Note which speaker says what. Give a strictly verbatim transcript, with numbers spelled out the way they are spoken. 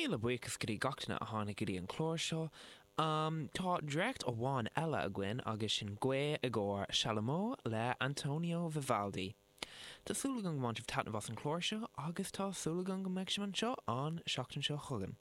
Speaker 1: Míle buíochas go dtí gach duine a tháinig go dtí an clár seo. Um, tá dréacht amháin eile againn agus sin Gaoth i gcomhair Chalumeau le Antonio Vivaldi. Tá súil agam go mbain sibh taitneamh as an chlár seo agus tá súil agam go mbeidh sibh anseo an seachtain seo chugainn.